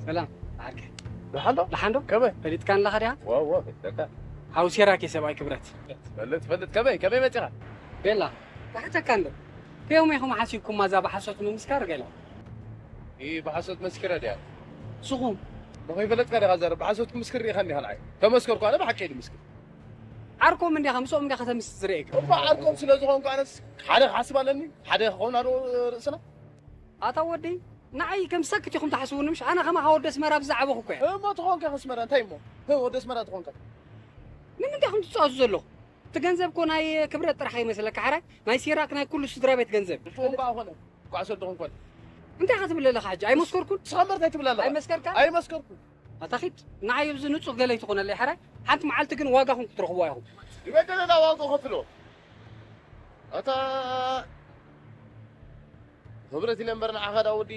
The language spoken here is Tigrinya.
ሰላም ዓርከይ። ደሓን ዶ? ደሓን ዶ? ከመይ? ፈሊጥካኒ ኣለኻ ዲኻ? ዋው ዋው፣ ፈሊጠካ። ሓው ሴራክ እየ ሰብኣይ ክብረት። ትፈልጥ ትፈልጥ። ከመይ ከመይ መጺኻ? ቤላ፣ ክሓተካ እንዶ ከዮም ኢኹም ሓሲብኩማ እዛ ብሓሶት ምምስካር ገለ? ኢ ብሓሶት መስኪረ ድያ? ስኹም ንኸይፈለጥካ ዲኻ ዘረብ ብሓሶት ክምስክር ርኢኻኒ ዲኻ ንዓይ? ተመስከርኩ ኣነ ብሓቂ ድምስክር። ዓርኮም እንዲኻ ምስኦም እንዲኻ ተምስ ዝርእየካ። እባ ዓርኮም ስለ ዝኾንኩ ኣነስ ሓደ ክሓስብ ኣለኒ። ሓደ ክኸውን ኣዶ ርእስና። ኣታ ወዲ ንዓይ ከም ሰክት ኢኹም ትሓስቡኒ ምሽ? ኣነ ከማኻ ወዲ ኣስመራ ብዝዓበኹ እኮ እየ። እሞ ትኾንካ ከስመራ እንታይ እሞ? ህ ወዲ ኣስመራ ትኾንካ። ንምንታይ ኢኹም ትጻወቱ ዘለኹ? እቲ ገንዘብ እኮ ናይ ክብረት ጥራሕ ይመስለካ ሓራይ? ናይ ሴራክ ናይ ኩሉ ስድራ ቤት ገንዘብ። እፎ እምባ ኾነ። ኳዕሶ ድኹም ኮነ። እንታይ ኢኻ ትብል ኣለኻ ሕጂ? ኣይመስከርኩን? ንስኻ እምበር እንታይ ትብል ኣለኻ? ኣይመስከርካ? ኣይመስከርኩን። ኣታ ኺድ ንዓይ ኣብዚ ንጹህ ገለ ኣይትኾነለይ ሓራይ? ሓንቲ መዓልቲ ግን ዋጋኹም ክትረኽብዋ ኢኹም። ይበደለና ዋንቆ ከፍሎ። ኣታ ክብረት ኢለ እምበር ንዓኻ ዳ ወዲ